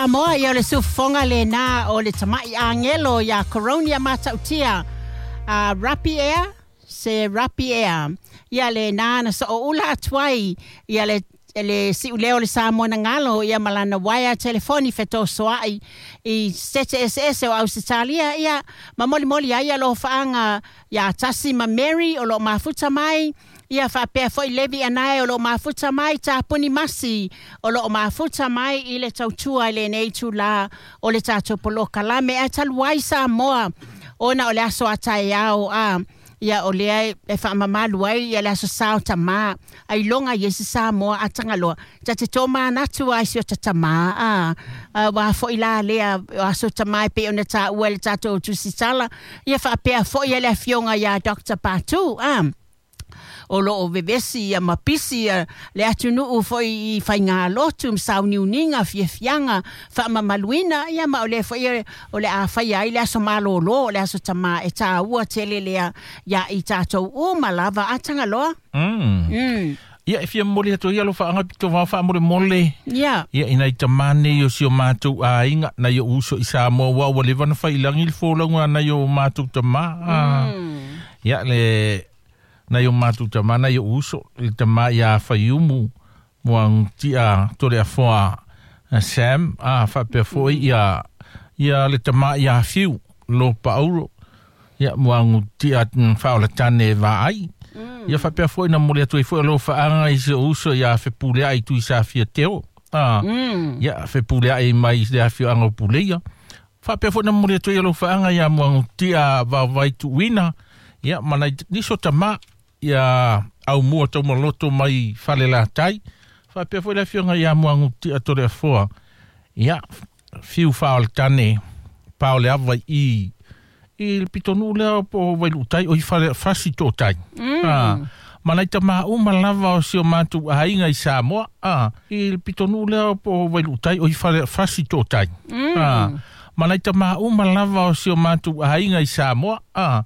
Samoa, ia o le siufofoga lena o le tama'i agelo iā Coronia Mata'utia, a Rapi ea, se Rapi ea, ia lena na so'oula atu ai ia le si'uleo o le Samoa na galo ia ma lana uaea telefoni fetosoa'i i sete eseese o Ausetalia, ia ma molimoli ai alofaaga iā Tasi ma Mary o lo'o mafuta mai, ia faapea fo'i Levi Anae o lo'o mafuta mai, Tapuni Masi o lo'o mafuta mai i le tautua i lenei itulā o le tatou polokalame. Ae talu ai Samoa ona o le aso a taeao a ia o lea e faamamalu ai ia le aso Sa o Tamā, ailoga i ai se Samoa a tagaloa ta te tomanatu ai si o ta tamā a uā fo'i la lea o aso tamā e pei ona tāua e le tatou tusitala, ia faapea fo'i le afioga iā Dr Patu a o loo vevesi ia ma pisi ia le atunuu foi i faigālotu ma sauniuniga fiafiaga faamamaluina, ia ma o lea foi o le a faia ai le aso malōlō o le aso tamā e tāua tele lea iā i tatou uma lava a tagaloa. Ia, e fia momoli atu ai alofaaga pito vao faamolemole. Ia i nai tamā nei o si o matou aiga, nai o'u uso i Samoa, ua ua leva ona failagi le folauga a nai o matou tamā. Ia le nai o matou tamā, nai o'u uso, le tamā iā Faiumu Muagututia Toleafoa Sam, a faapea fo'i ia ia le tamā iā Fiu Lo Paulo, ia Muagututia Faaolatane Vaai. Ia faapea fo'i na momoli atu ai fo'i alofaaga i si o'u uso iā Fepulea'i Tuisafia Teo. A ia Fepulea'i mai le afioaga o Puleia. Faapea fo'i na momoli atu ai alofaaga iā Muagututia Vaovai Tuuina, ia ma nai nisi o tamā ia Aumua Taumaloto mai Falelatai. Faapea fo'i le afioga iā Muagututia Toleafoa, ia Fiu Faaolatane Paoleava i i le pitonuu lea po o Vailuutai o i fale fasi tootai. Ma nai tamā uma lava o si o matou aiga i Samoa a i le pitonuu lea po o Vailuutai o i fale fasi tootai. Ma nai tamā uma lava o si o matou aiga i Samoa a.